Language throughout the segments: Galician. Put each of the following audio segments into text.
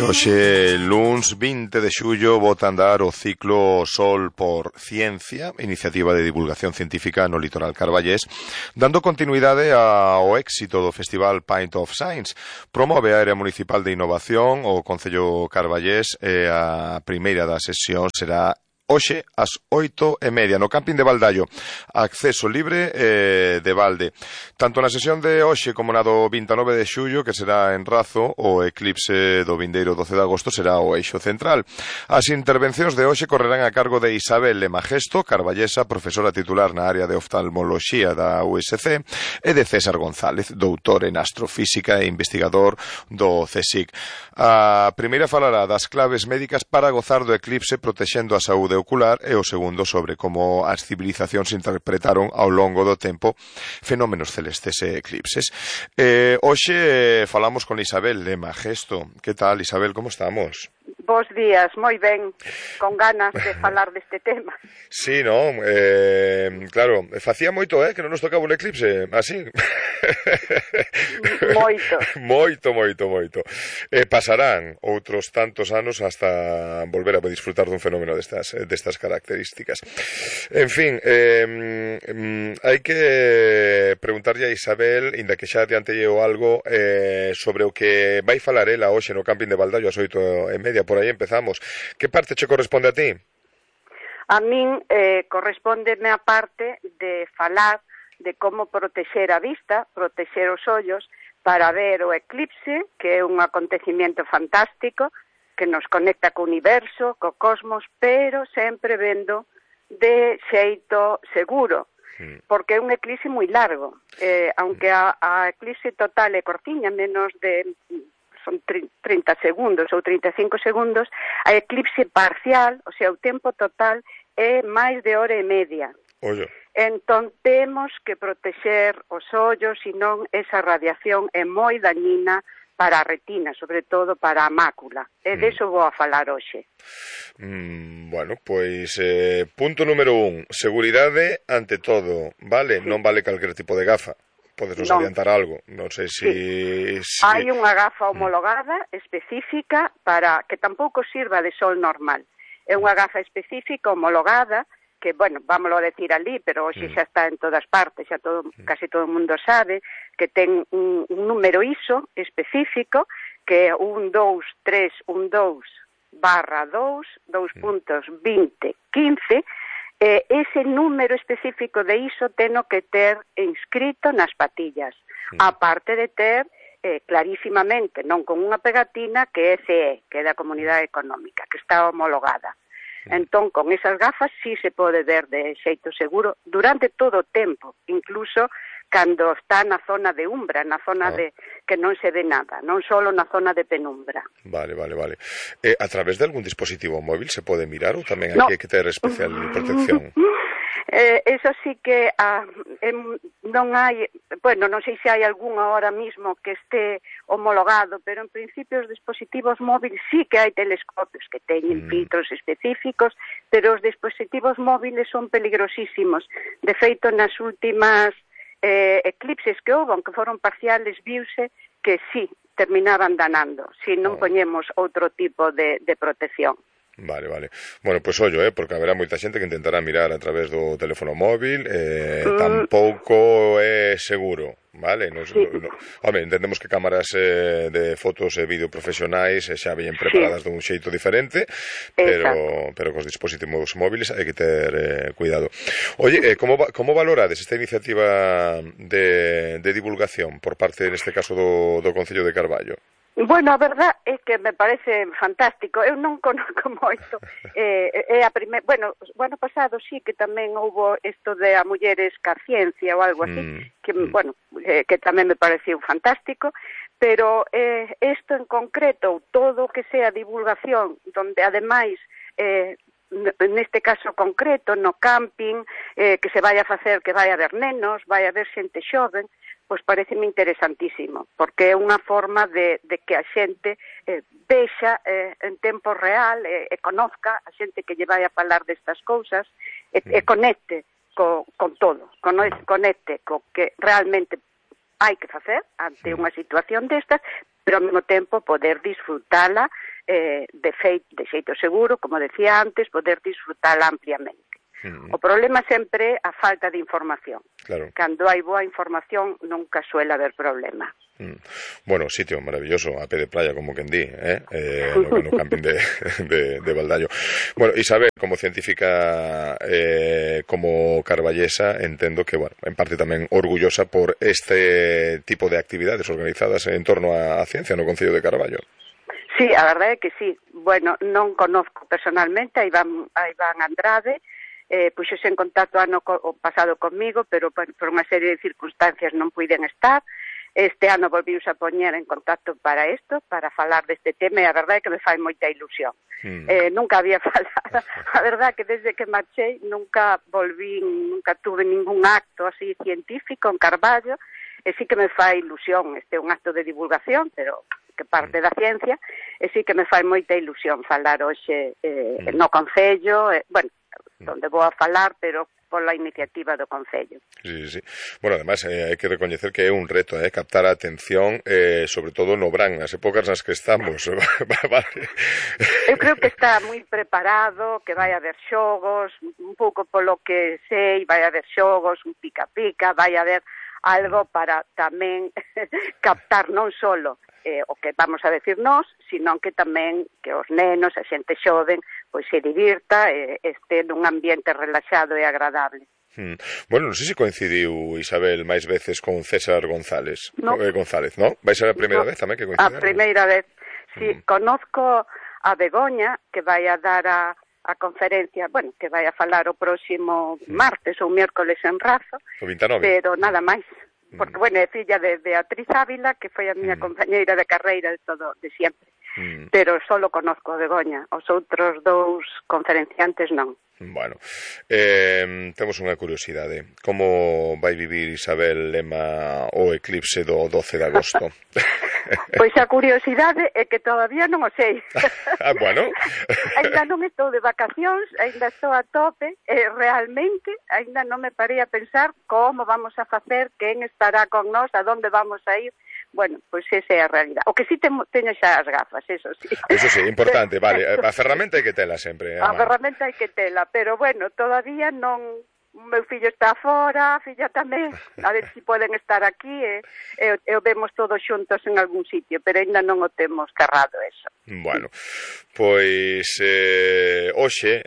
Hoxe, luns 20 de xullo, bota a andar o ciclo Sol por Ciencia, iniciativa de divulgación científica no litoral carballés, dando continuidade ao éxito do Festival Pint of Science. Promove a Área Municipal de Innovación o Concello Carballés e a primeira das sesións será hoxe ás 8:30 no camping de Valdallo, acceso libre de balde. Tanto na sesión de hoxe como na do 29 de xullo, que será en Razo, o eclipse do vindeiro 12 de agosto será o eixo central. As intervencións de hoxe correrán a cargo de Isabel Lemagesto, carballesa, profesora titular na área de oftalmoloxía da USC, e de César González, doutor en astrofísica e investigador do CSIC. A primeira falará das claves médicas para gozar do eclipse protexendo a saúde ocular e o segundo sobre como as civilizacións interpretaron ao longo do tempo fenómenos celestes e eclipses. Hoxe falamos con Isabel Lemagesto. Que tal, Isabel, como estamos? Bos días, moi ben, con ganas de falar deste tema. Sí, non? Claro, facía moito, que non nos tocaba un eclipse, así. Moito. Pasarán outros tantos anos hasta volver a disfrutar dun fenómeno destas características. En fin, hai que preguntarlle a Isabel, inda que xa adiantelle algo, sobre o que vai falar ela hoxe no camping de Valdallo ás 8:30, por aí empezamos. Que parte che corresponde a ti? A min correspóndeme a parte de falar de como protexer a vista, protexer os ollos, para ver o eclipse, que é un acontecimiento fantástico, que nos conecta co universo, co cosmos, pero sempre vendo de xeito seguro, porque é un eclipse moi largo. Aunque a eclipse total é cortiña, menos de... son 30 segundos ou 35 segundos, a eclipse parcial, o sea, o tempo total, é máis de hora e media. Ollo. Entón, temos que protexer os ollos, senón esa radiación é moi dañina para a retina, sobre todo para a mácula. E deso vou a falar hoxe. Bueno, pois, punto número 1, seguridade ante todo, vale? Sí. Non vale calquer tipo de gafa. Podes nos adiantar algo, non sei se... Sí. Hai unha gafa homologada específica para que tampouco sirva de sol normal. É unha gafa específica homologada que, bueno, vámoslo a decir ali, pero hoxe xa está en todas partes, xa casi todo o mundo sabe, que ten un número ISO específico que é 12312/2, 2.2015. Ese número específico de ISO teno que ter inscrito nas patillas, aparte de ter clarísimamente, non con unha pegatina, que é CE, que é da Comunidade Económica, que está homologada. Entón, con esas gafas sí se pode ver de xeito seguro durante todo o tempo, incluso cando está na zona de umbra, na zona de que non se ve nada, non só na zona de penumbra. Vale. A través de algún dispositivo móvil se pode mirar ou tamén hai que ter especial protección? Eso sí que non hai, bueno, non sei se hai algunha ahora mismo que este homologado, pero en principio os dispositivos móviles sí que hai telescopios que teñen filtros específicos, pero os dispositivos móviles son peligrosísimos. De feito, nas últimas eclipses que houve, aunque foron parciales, viuse que sí, terminaban danando, se non poñemos outro tipo de protección. Vale. Bueno, pois ollo, porque haberá moita xente que intentará mirar a través do teléfono móvil, tampouco é seguro, vale? Home, entendemos que cámaras de fotos e vídeo profesionais xa veñen preparadas dun xeito diferente, pero cos dispositivos móviles hai que ter cuidado. Oye, como valorades esta iniciativa de divulgación por parte, neste caso, do Concello de Carballo? Bueno, a verdad é que me parece fantástico. Eu non conozco moito. Bueno, o ano pasado sí que tamén houbo isto de a mulleres ca ciencia ou algo así, que, bueno, que tamén me pareceu fantástico, pero isto en concreto, todo o que sea divulgación, donde ademais neste caso concreto, no camping, que se vai a facer, que vai a haber nenos, vai a haber xente xoven, pois pareceme interesantísimo, porque é unha forma de que a xente vexa en tempo real e conozca a xente que lle vai a falar destas cousas e conecte con todo, conecte co que realmente hai que facer ante unha situación destas, pero ao mesmo tempo poder disfrutala de xeito seguro, como decía antes, poder disfrutala ampliamente. O problema sempre é a falta de información. Claro. Cando hai boa información nunca suele haber problema. Bueno, sitio maravilloso, a pé de playa, como quen di, no camping de Baldaño. Bueno, Isabel, como científica, como carballesa, entendo que, bueno, en parte tamén orgullosa por este tipo de actividades organizadas en torno á ciencia no Concello de Carballo. Sí, a verdade é que sí. Bueno, non conozco personalmente a Iván Andrade, puxose en contacto o pasado comigo, pero por unha serie de circunstancias non puiden estar. Este ano volviuse a poñer en contacto para isto, para falar deste tema, e a verdade é que me fai moita ilusión. Nunca había falado, a verdade é que desde que marchei nunca tuve ningún acto así científico en Carballo, e sí que me fai ilusión, este é un acto de divulgación, pero que parte da ciencia, e sí que me fai moita ilusión falar hoxe no Concello, bueno, onde vou a falar, pero pola iniciativa do Concello. Sí. Bueno, además, hai que recoñecer que é un reto, captar a atención, sobre todo no Brán, as épocas nas que estamos. Vale. Eu creo que está moi preparado, que vai haber xogos, un pouco polo que sei, vai haber xogos, un pica-pica, vai haber algo para tamén captar non solo o que vamos a decir nós, sino que tamén que os nenos, a xente xoven, pois se divirta e este nun ambiente relaxado e agradable. Bueno, non sei se coincidiu Isabel máis veces con César González. No. González, ¿no? Vai ser a primeira vez tamén que coincidaron? A primeira vez, sí. Conozco a Begoña, que vai a dar a conferencia, bueno, que vai a falar o próximo martes ou miércoles en Razo. O 29. Pero nada máis. Porque, bueno, é filla de Beatriz Ávila, que foi a miña compañeira de carreira de sempre. Pero solo conozco a Begoña, os outros dous conferenciantes non. Bueno, temos unha curiosidade. Como vai vivir Isabel Lema o eclipse do 12 de agosto? Pois a curiosidade é que todavía non o sei. Bueno. Ainda non estou de vacacións, ainda estou a tope, e realmente ainda non me parei a pensar como vamos a facer, quen estará con nós, a donde vamos a ir. Bueno, pois esa é a realidade. O que sí teño xa as gafas, eso sí. Eso sí, importante, vale. A ferramenta hai que tela sempre. A ferramenta hai que tela, pero bueno, todavía non... O meu fillo está fora, a filla tamén, a ver se poden estar aquí e vemos todos xuntos en algún sitio, pero ainda non o temos carrado eso. Bueno, pois hoxe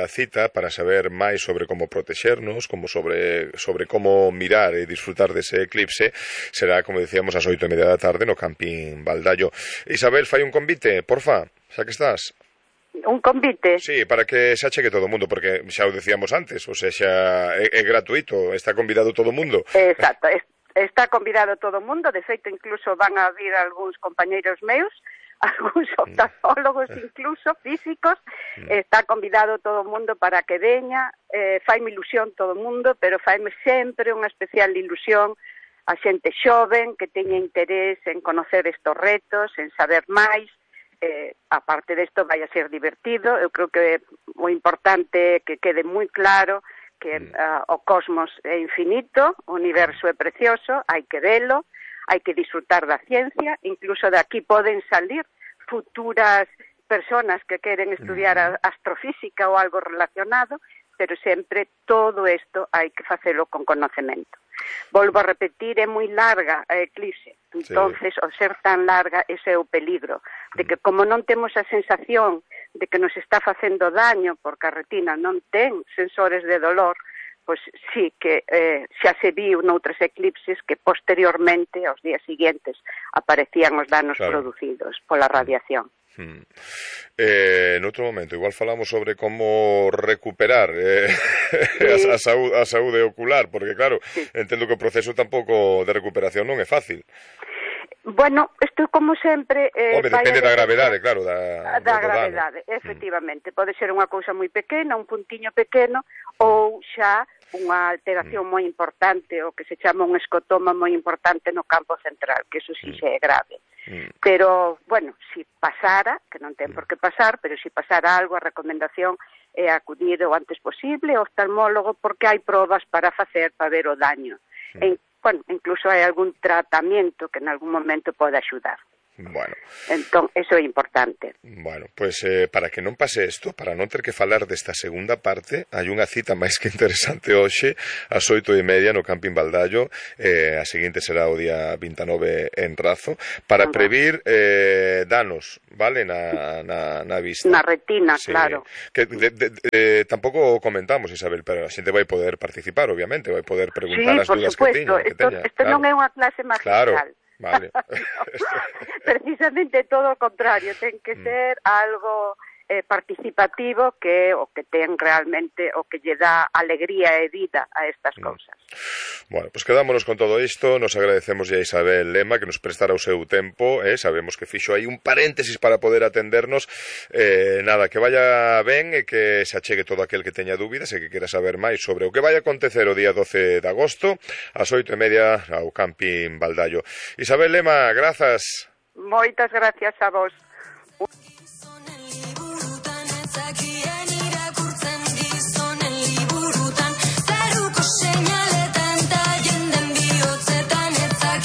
a cita para saber máis sobre como protexernos, como sobre como mirar e disfrutar dese eclipse será, como decíamos, ás 8:30 da tarde no Camping Baldaño. Isabel, fai un convite, porfa, xa que estás. Un convite? Sí, para que se achegue todo o mundo, porque xa o decíamos antes, o sea, xa é gratuito, está convidado todo o mundo. Exacto, está convidado todo o mundo, de feito incluso van a vir algúns compañeiros meus, algúns oftalmólogos incluso, físicos, está convidado todo o mundo para que veña, faime ilusión todo o mundo, pero faime sempre unha especial ilusión a xente xoven que teña interés en conocer estos retos, en saber máis. Aparte desto vai a ser divertido, eu creo que o importante é que quede moi claro que o cosmos é infinito, o universo é precioso, hai que velo, hai que disfrutar da ciencia, incluso de aquí poden salir futuras personas que queren estudiar astrofísica ou algo relacionado, pero sempre todo isto hai que facelo con conocemento. Volvo a repetir, é moi larga a eclipse, entonces, ao ser tan larga, ese é o peligro, de que como non temos a sensación de que nos está facendo daño, porque a retina non ten sensores de dolor, pois sí que xa se viu noutros eclipses que posteriormente, aos días seguintes, aparecían os danos producidos pola radiación. Noutro momento, igual falamos sobre como recuperar a saúde ocular, porque claro, entendo que o proceso tampouco de recuperación non é fácil. Bueno, isto como sempre... depende da gravedade, claro. Da gravedade, efectivamente. Pode ser unha cousa moi pequena, un puntiño pequeno, ou xa unha alteración moi importante, o que se chama un escotoma moi importante no campo central, que eso sí xa é grave. Pero, bueno, si pasara, que non ten por que pasar, pero si pasara algo, a recomendación é acudir o antes posible ao oftalmólogo, porque hai probas para facer, para ver o daño. Bueno, incluso hai algún tratamento que en algún momento pode axudar. Bueno. Entón, eso é importante. Bueno, pois para que non pase isto, para non ter que falar desta segunda parte, hai unha cita máis que interesante hoxe, ás 8:30 no Camping Baldallo, a seguinte será o día 29 en Razo, para previr danos, vale, na vista. Na retina, sí. Claro. Que tampouco comentamos, Isabel, pero a xente vai poder participar, obviamente, vai poder preguntar as dúdas que teña. Isto non é unha clase magistral. Claro. Vale. Precisamente todo o contrario, ten que ser algo participativo que o que ten realmente o que lle dá alegría e vida a estas cousas. Bueno, pues quedámonos con todo isto, nos agradecemos a Isabel Lema que nos prestara o seu tempo, sabemos que fixo aí un paréntesis para poder atendernos, nada, que vaya ben e que se achegue todo aquel que teña dúbidas e que quera saber máis sobre o que vai a acontecer o día 12 de agosto ás 8:30 ao Camping Baldallo. Isabel Lema, grazas. Moitas gracias a vos.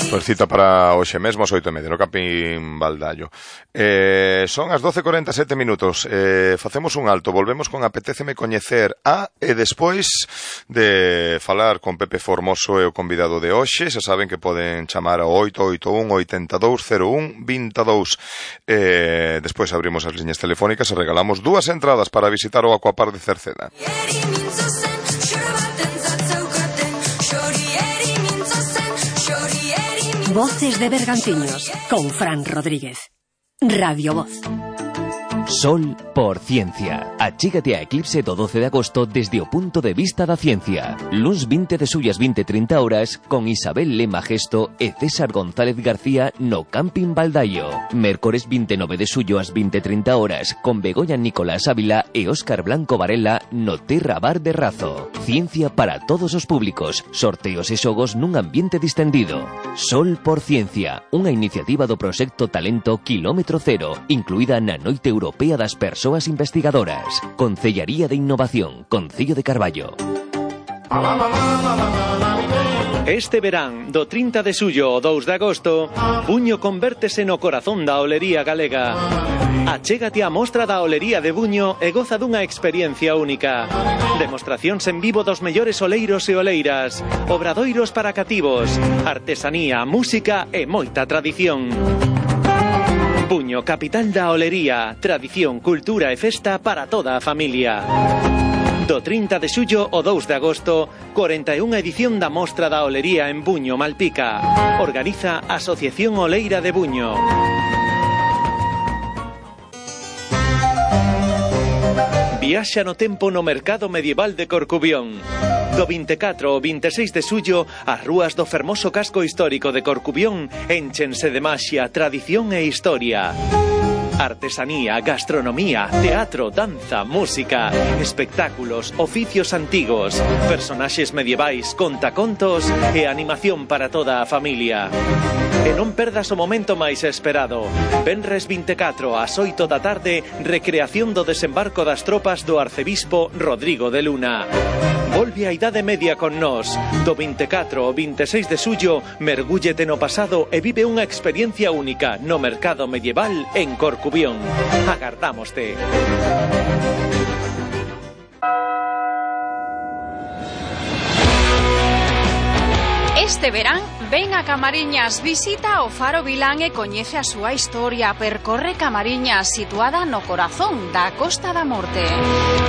Pues cita para hoxe mesmo ás 8:30 no Camping Baldallo. Son as 12:47 minutos. Facemos un alto, volvemos con Apetéceme Coñecer a e despois de falar con Pepe Formoso e o convidado de hoxe, xa saben que poden chamar ao 881-8201-22. Despois abrimos as liñas telefónicas e regalamos 2 entradas para visitar o Aquapark de Cerceda. Voces de Bergantiños, con Fran Rodríguez. Radio Voz. Sol por Ciencia. Achégate a Eclipse do 12 de agosto desde o punto de vista da ciencia. Luns 20 de xullo ás 20:30 horas con Isabel Lema Gesto e César González García no Camping Baldallo. Mércores 29 de xullo ás 20:30 horas con Begoña Nicolás Ávila e Óscar Blanco Varela no Terra Bar de Razo. Ciencia para todos os públicos, sorteos e xogos nun ambiente distendido. Sol por Ciencia, unha iniciativa do proxecto Talento Kilómetro Cero, incluída na Noite Europea das Persoas Investigadoras. Concellaría de Innovación, Concello de Carballo. Este verán, do 30 de xullo ao 2 de agosto, Buño convértese no corazón da olería galega. Achégate á mostra da olería de Buño e goza dunha experiencia única. Demostracións en vivo dos mellores oleiros e oleiras, obradoiros para cativos, artesanía, música e moita tradición. Buño, capital da olería, tradición, cultura e festa para toda a familia. Do 30 de xullo ao 2 de agosto, 41 edición da Mostra da Olería en Buño, Malpica. Organiza Asociación Oleira de Buño. Viaxa no tempo no mercado medieval de Corcubión. Do 24 ao 26 de xullo, as rúas do fermoso casco histórico de Corcubión énchense de maxia, tradición e historia. Artesanía, gastronomía, teatro, danza, música, espectáculos, oficios antigos, personaxes medievais, contacontos e animación para toda a familia. E non perdas o momento máis esperado. Venres 24 ás 8 da tarde, recreación do desembarco das tropas do arcebispo Rodrigo de Luna. Volve a Idade Media con nós. Do 24 ao 26 de xullo, mergúllete no pasado e vive unha experiencia única no mercado medieval en Corcubión. Agardámoste. Este verán, ven a Camariñas, visita o Faro Vilán e coñece a súa historia. Percorre Camariñas, situada no corazón da Costa da Morte.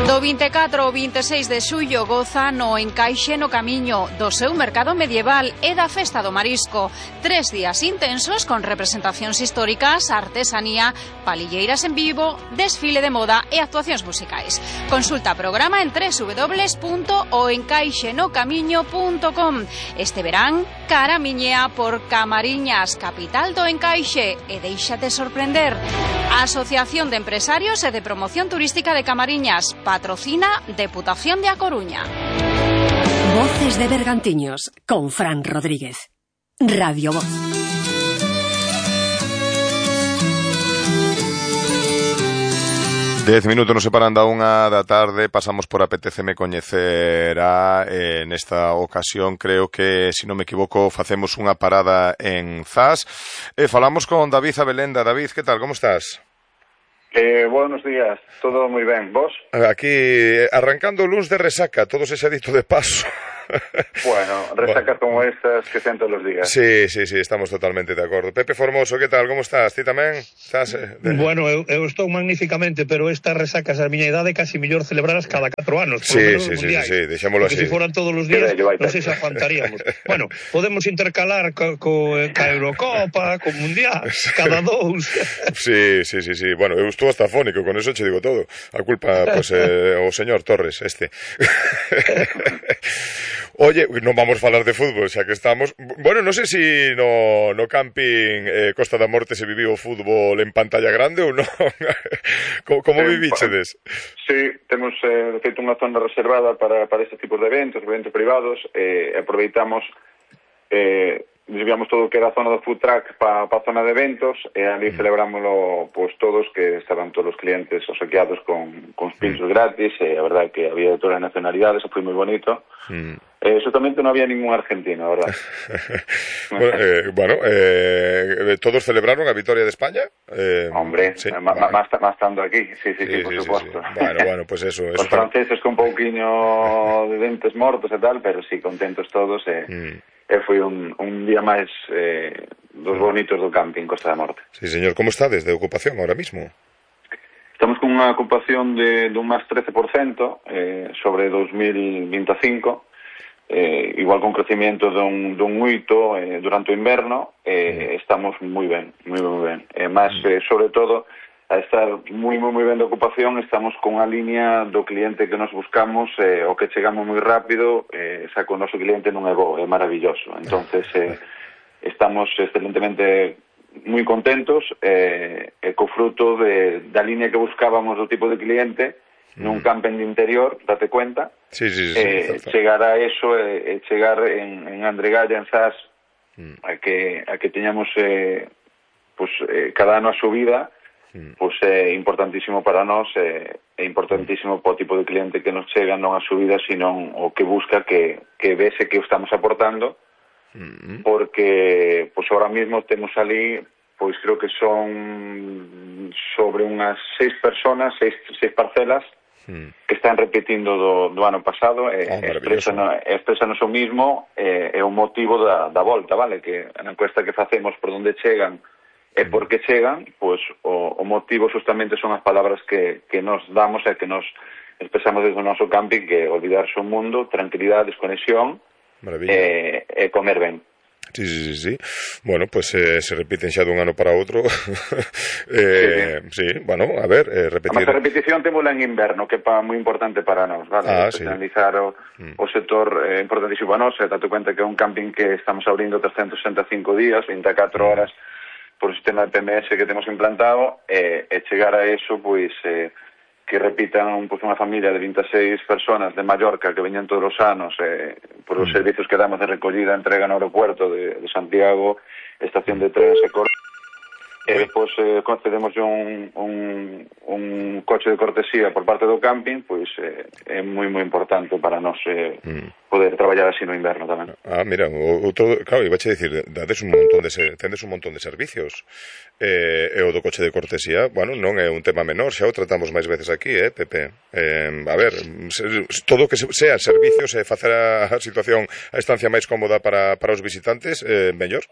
Do 24 ao 26 de xullo goza no Encaixe no Camiño, do seu mercado medieval e da Festa do Marisco. 3 días intensos con representacións históricas, artesanía, palilleiras en vivo, desfile de moda e actuacións musicais. Consulta programa en www.oencaixenocamiño.com. Este verán, caramiñea por Camariñas, capital do Encaixe, e déixate sorprender. Asociación de Empresarios e de Promoción Turística de Camariñas, patrocina Deputación de A Coruña. Voces de Bergantiños, con Fran Rodríguez. Radio Voz. 10 minutos nos separan da 1:00 da tarde. Pasamos por Apeteceme Coñecer nesta ocasión, creo que, se non me equivoco, facemos unha parada en Zas e falamos con David Abelenda. David, que tal, como estás? Buenos días, todo moi ben, vos? Aquí, arrancando o luns de resaca, todo se ha dito de paso. Bueno, resacas como estas que sean todos os días. Sí, estamos totalmente de acordo. Pepe Formoso, que tal, como estás? Ti tamén? Estás, Bueno, eu estou magníficamente, pero estas resacas a miña idade casi mellor celebraras cada 4 anos. Sí, deixámoslo así. Porque se foran todos os días, non sei se aguantaríamos. Bueno, podemos intercalar ca Eurocopa, co Mundial, cada 2. Sí. Bueno, eu estou hasta afónico, con eso che digo todo. A culpa, pues, o señor Torres, este. Oye, non vamos a falar de fútbol, xa que estamos. Bueno, non sei se no camping Costa da Morte se viviu o fútbol en pantalla grande ou non. Como vivíchedes? Sí, temos feito unha zona reservada para este tipo de eventos privados, aproveitamos, desviamos todo o que era a zona do food truck para a zona de eventos, e ali celebrámoslo pues, todos, que estaban todos os clientes obsequiados con pinchos gratis, e a verdade que había de todas as nacionalidades, foi moi bonito. Justamente non había ningún argentino, a verdad. Todos celebraron a vitoria de España? Hombre, sí, más estando aquí, sí, por supuesto. Sí. Bueno, pues eso. Os franceses con un pouquiño de dentes mortos e tal, pero sí, contentos todos, foi un día máis dos bonitos do camping Costa da Morte. Sí, señor, como está desde ocupación ahora mismo? Estamos con unha ocupación de un máis 13% sobre 2025, igual con crecimiento dun 8% durante o inverno, estamos moi ben, moi ben. Mas, sobre todo, a estar moi ben de ocupación, estamos con a liña do cliente que nos buscamos, o que chegamos moi rápido, xa con o noso cliente non é bo, é maravilloso. Entonces, estamos excelentemente moi contentos, co fruto da liña que buscábamos do tipo de cliente nun camping de interior, date cuenta. Sí. Chegar a eso, chegar en Andregalla, en Zas, a que teñamos cada ano a subida, pois é importantísimo para nós, é importantísimo para o tipo de cliente que nos chega, non a subida, sino o que busca que vese que o estamos aportando, porque pois ahora mismo temos ali, pois creo que son sobre unhas 6 personas, 6 parcelas, que están repetindo do ano pasado, expresanos o mismo, é o motivo da volta, vale? Que na encuesta que facemos por onde chegan e por que chegan, pois o motivo justamente son as palabras que nos damos e que nos expresamos desde o noso camping, que olvidarse o mundo, tranquilidade, desconexión e comer ben. Sí. Bueno, pues se repiten xa dun ano para outro. Sí, bueno, a ver, repetir. A repetición témola en inverno, que é moi importante para nós, vale? Analizar o sector importantísimo para nós, date cuenta que é un camping que estamos abrindo 365 días, 24 horas, por o sistema de PMS que temos implantado, e chegar a eso, pois, que repitan unha familia de 26 personas de Mallorca que veñan todos os anos por os servicios que damos de recollida e entrega no aeropuerto de Santiago, estación de trenes e e depois concedemos un coche de cortesía por parte do camping, pois é moi importante para nós poder traballar así no inverno tamén. Mira, claro, iba a dicir, tendes un montón de servicios, e o do coche de cortesía, bueno, non é un tema menor, xa o tratamos máis veces aquí, Pepe? A ver, todo que sean servicios e facer a situación, a estancia máis cómoda para os visitantes, mellor?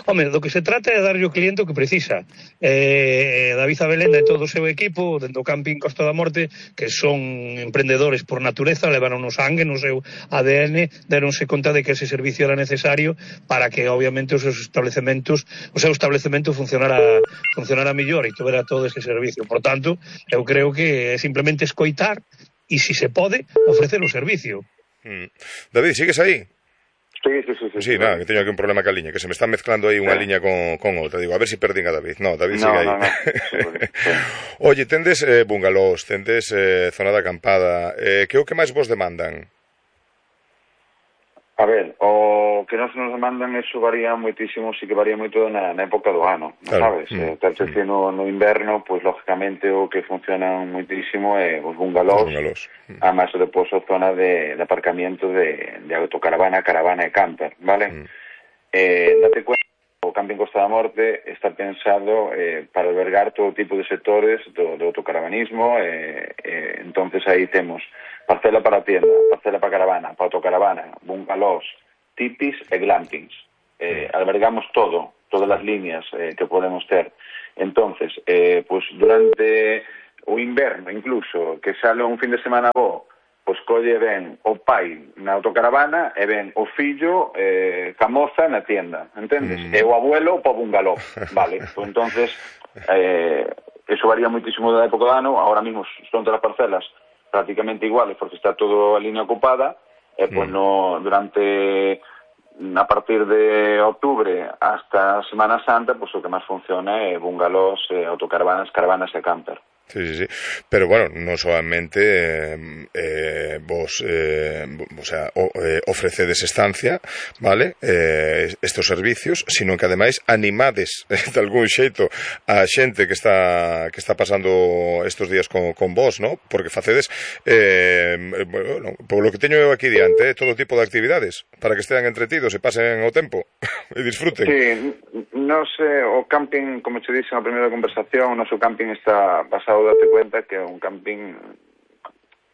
Home, do que se trata é de darlle ao cliente o que precisa. David Abelenda e todo o seu equipo dentro do camping Costa da Morte, que son emprendedores por natureza, levaron no sangue, no seu ADN, deronse conta de que ese servicio era necesario para que, obviamente, o seu establecemento funcionara mellor e tuvera todo ese servicio. Por tanto, eu creo que é simplemente escoitar e, se se pode, ofrecer o servicio. David, sigues aí? Sí, nada, que teño aquí un problema ca liña, que se me está mezclando aí unha liña con outra. Digo, a ver se perdín a David. No, David sigue aí. No. Oye, tendes bungalows, tendes zona de acampada, que é o que máis vos demandan? A ver, o que nos mandan eso varía moitísimo, sí que varía moito na época do ano, claro. Sabes? Tal que no inverno, pois lógicamente o que funciona moitísimo é os bungalós. Además, depois a zona de aparcamiento de autocaravana, caravana e camper, vale? Date cuenta, o Camping Costa da Morte está pensado para albergar todo tipo de sectores do autocaravanismo, entonces aí temos parcela para tienda, parcela para caravana, para autocaravana, bungalós, tipis e glampings. Albergamos todas as líneas que podemos ter. Entonces, pues durante o inverno incluso, que sale un fin de semana bo, pois colle ben o pai na autocaravana e ben o fillo ca moza na tienda, entendes? E o abuelo pa bungaló, vale? Pues entonces, eso varía moitísimo da época do ano, ahora mismo son todas as parcelas prácticamente iguales porque está toda a línea ocupada, e pois a partir de octubre hasta Semana Santa, pois o que máis funciona é bungalós, autocaravanas, caravanas e camper. Sí. Pero bueno, no solamente vos ofrecedes estancia, vale, estos servicios, sino que ademais animades de algún xeito a xente que está pasando estos días con vos, ¿no? Porque facedes bueno, por lo que teño eu aquí diante, todo tipo de actividades para que estean entretidos e pasen o tempo e disfruten. Sí, no sé, o camping, como te dixen na primeira conversación, o noso camping está basado, date cuenta que é un camping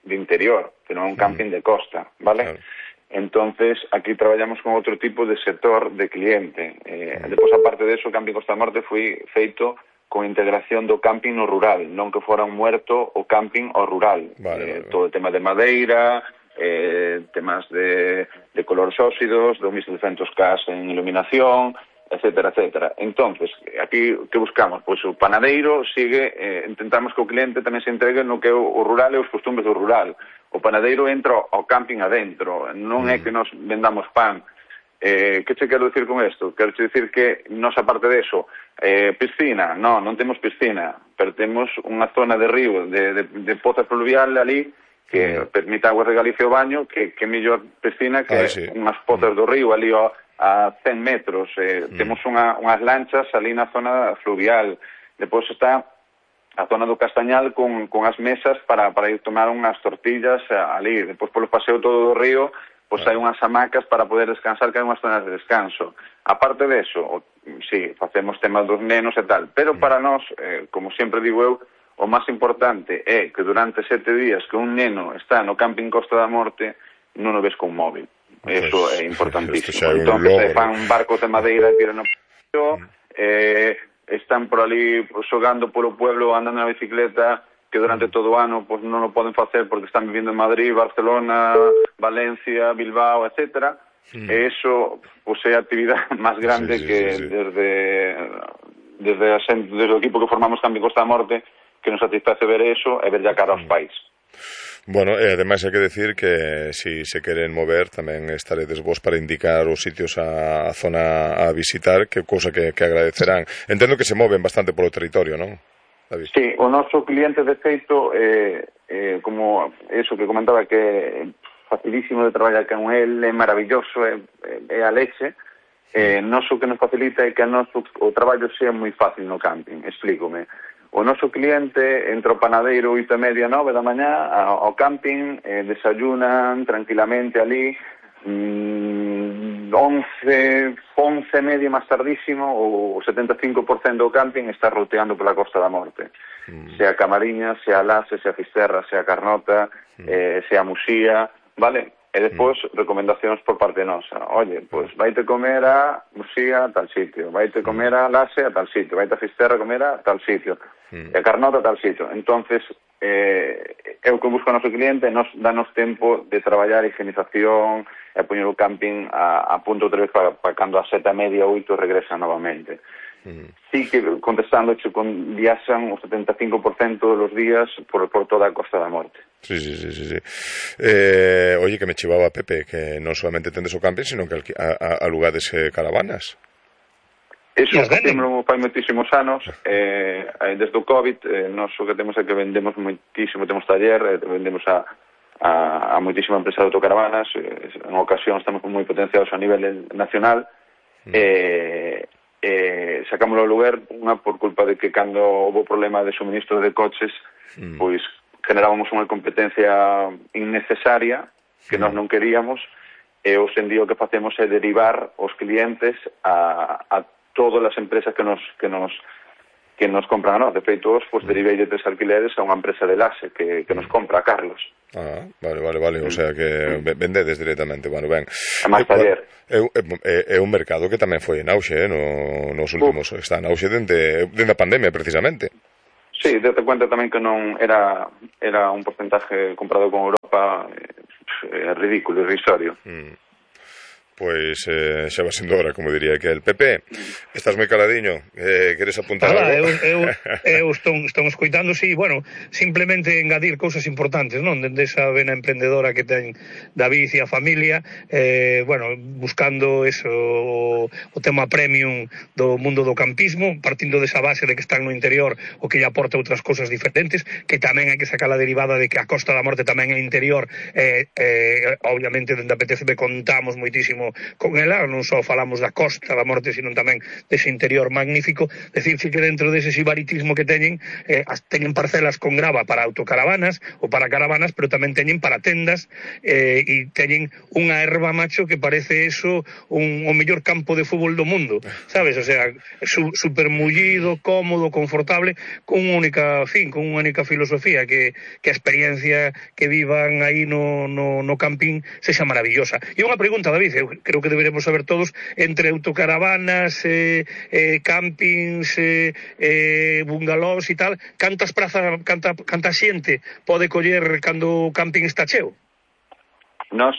de interior, que non é un camping de costa, vale? Claro. Entonces, aquí traballamos con outro tipo de sector de cliente. Depois, aparte de eso, o Camping Costa da Morte foi feito con integración do camping no rural, non que fora un muerto o camping ao rural. Vale. Todo o tema de madeira, temas de colores óxidos, do 1200K en iluminación, etcétera, etcétera. Entonces, aquí que buscamos? Pois o panadeiro sigue, intentamos que o cliente tamén se entregue no que é o rural e os costumes do rural. O panadeiro entra ao camping adentro, non é que nos vendamos pan. Que che quero dicir con isto? Quero che dicir que nos, aparte de eso, piscina, non temos piscina, pero temos unha zona de río, de poza fluvial ali, que permite aguas de Galicia o baño, que mellor piscina que unhas pozas do río ali a 100 metros. Temos unhas lanchas ali na zona fluvial. Depois está a zona do Castañal con as mesas para ir tomar unhas tortillas ali. Depois polo paseo todo do río, pois hai unhas hamacas para poder descansar, que hai unhas zonas de descanso. Aparte de eso, sí, facemos temas dos nenos e tal, pero para nós, como sempre digo eu, o máis importante é que durante 7 días que un neno está no Camping Costa da Morte non o ves con móvil. Eso é importantísimo. Entonces, fan un barco de madeira e tiran o están por ali xogando polo pueblo, andando na bicicleta, que durante todo o ano pues, non o poden facer porque están vivindo en Madrid, Barcelona, Valencia, Bilbao, etcétera. E iso pues, é a actividade máis grande que desde o equipo que formamos Camping Costa da Morte, que nos satisface ver eso e ver ya cara aos pais. Bueno, ademais hai que decir que si se queren mover tamén estaredes vos para indicar os sitios a zona a visitar, que cousa que agradecerán. Entendo que se moven bastante polo territorio, non, David? Sí, o noso cliente de feito, como eso que comentaba, que é facilísimo de traballar con el, é maravilloso, é a leche. Noso que nos facilita é que o traballo sea moi fácil no camping, explícome. O noso cliente entra ao panadeiro 8:30, 9 da mañá ao camping, desayunan tranquilamente ali, 11:30 máis tardísimo, o 75% do camping está roteando pola Costa da Morte. Sea Camariñas, sea Lase, sea Fisterra, sea Carnota, sea Musía, vale? E despois, recomendacións por parte nosa. Oye, pois vaite comer a Musía a tal sitio, vaite comer a Lase a tal sitio, vaite a Fisterra a comer a tal sitio, e a Carnota a tal sitio. Entonces, é o que busca o noso cliente, danos tempo de traballar a higienización e poñer o camping a punto outra vez para cando a 7:30, 8 regresa novamente. Sí que, contestando, viaxan o 75% dos días por toda a Costa da Morte. Sí. Oye, que me chivaba Pepe, que non solamente tendes o camping, sino que alugades caravanas. Eso facemos fai moitísimos anos, desde o COVID, nós o que temos é que vendemos moitísimo, temos taller, vendemos a a moitísima empresa de autocaravanas. En ocasión estamos moi potenciados a nivel nacional. Sacámoslo ao lugar unha por culpa de que cando houve problema de suministro de coches pois generábamos unha competencia innecesaria que nós non queríamos, e hoxe en día o que facemos é derivar os clientes a todas as empresas que nos compran a nós. De feito, pois derivei de 3 alquileres a unha empresa de Laxe que nos compra a Carlos. Vale. O sea que vendedes directamente. Bueno, ben. A máis taller. É un mercado que tamén foi en auxe, nos últimos. Está en auxe dende a pandemia, precisamente. Sí, date cuenta tamén que non era un porcentaje comparado con Europa ridículo, irrisorio. Pois xa va sendo hora, como diría que el Pepe. Estás moi caladiño, queres apuntar algo? Eu estou escoitando, sí, bueno, simplemente engadir cousas importantes, non? Dende esa vena emprendedora que ten David e a familia, bueno, buscando eso, o tema premium do mundo do campismo, partindo desa base de que están no interior, o que lle aporta outras cousas diferentes, que tamén hai que sacar a derivada de que a Costa da Morte tamén é interior, obviamente dende a PTCB contamos moitísimo con ela, non só falamos da Costa da Morte, sino tamén dese interior magnífico. Decirse que dentro dese sibaritismo que teñen parcelas con grava para autocaravanas ou para caravanas, pero tamén teñen para tendas, e teñen unha erva, macho, que parece eso o mellor campo de fútbol do mundo, sabes? O sea, super mullido, cómodo, confortable, con unha única filosofía, que a experiencia que vivan aí no camping sexa maravillosa. E unha pregunta, David, eu creo que deberemos saber todos, entre autocaravanas, campings, bungalows e tal, canta xente pode coller cando o camping está cheo? Nós